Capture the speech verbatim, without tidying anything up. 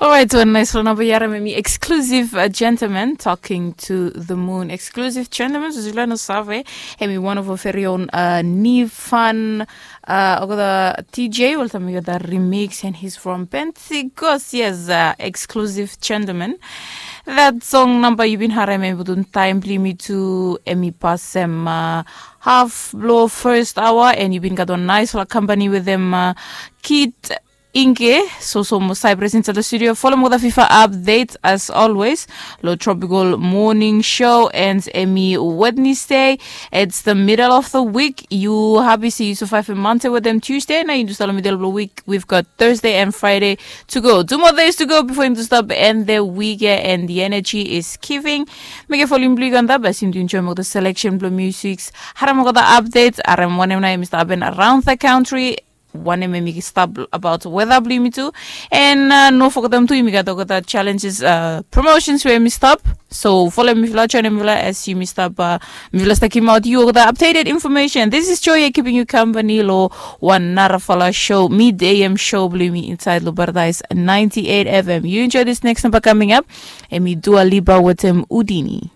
Orait, wan nais fala namba i harim em i Exclusive, uh, Gentleman, Talking to the Moon. Exclusive Gentleman, so yufala no save, em i one of our very own, uh, Nifan, uh, olgeta D J, oltaem i gat remix, and he's from Pentecost, yes, uh, Exclusive Gentleman. That song namba yu bin harim em i putum taem blong yumi tu, em i pasem, uh, haf blong first hour, and yu bin gat wan nais fala company wetem, uh, Kid Inge, so so mo Cyprus inside the studio. Follow mo the FIFA update as always. Lo Tropical Morning Show and em i Wednesday. It's the middle of the week. Yu habi se yu survive Monday wetem Tuesday. Nao yu stap lo middle of the week. We've got Thursday and Friday to go. Two more days to go before yu stap end the week, yeah, and the energy is giving. Mekem volume blong yu go antap as yu enjoy mo the selection blong musics. Harim mo the updates. Harim wanem nao em i stap hapen around the country. Wanem em i stap about weather blong yumi tu. And, uh, no fogetem tu yumi gat olgeta challenges, uh, promotions we em i stap. So follow mifala, join mifala as yumi stap, uh, mifala stap givimaot yu olgeta updated information. This is Joy keeping you company lo wan narafala show, mid A M show blong yumi inside lo Paradise ninety-eight F M. You enjoy this next number coming up. Em i Dua Lipa wetem Houdini.